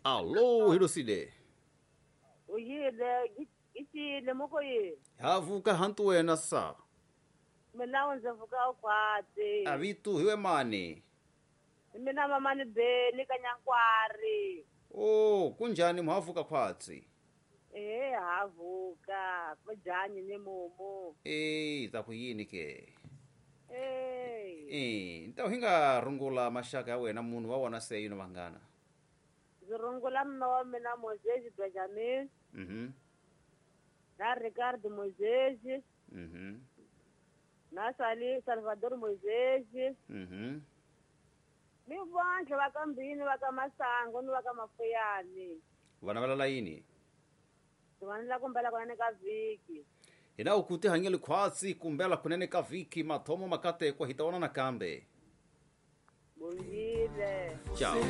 Allo hilosile. Uyile gicile moko yi. Havuka hantu wena sa. Mina ndzi vuka ukhwatsi. Avitu hiwe mani. Mina mamani Beni kanyankwari. Oh, kunjani muhavuka khwatsi? Eh havuka, kunjani ni mumu. Eh, ta ku yini ke? Eh. Eh, nta hinga rungula maxaka ya wena munhu wa wona se yino vanghana. Ndzi rungula mma wa mina Moses Benjamin. Na Ricardo Moses. Na Sali Salvador Moses. Ni vandla va ka Mbini va ka Masango ni va ka Mafuyani. Vana va lala yini? Vanhu la kumbela kunene ka vhiki. Hina u kuti hanyeli khwatsi kumbela kunene ka vhiki mathomo makatekwa hi ta vona nakambe. Bongile. Ciao.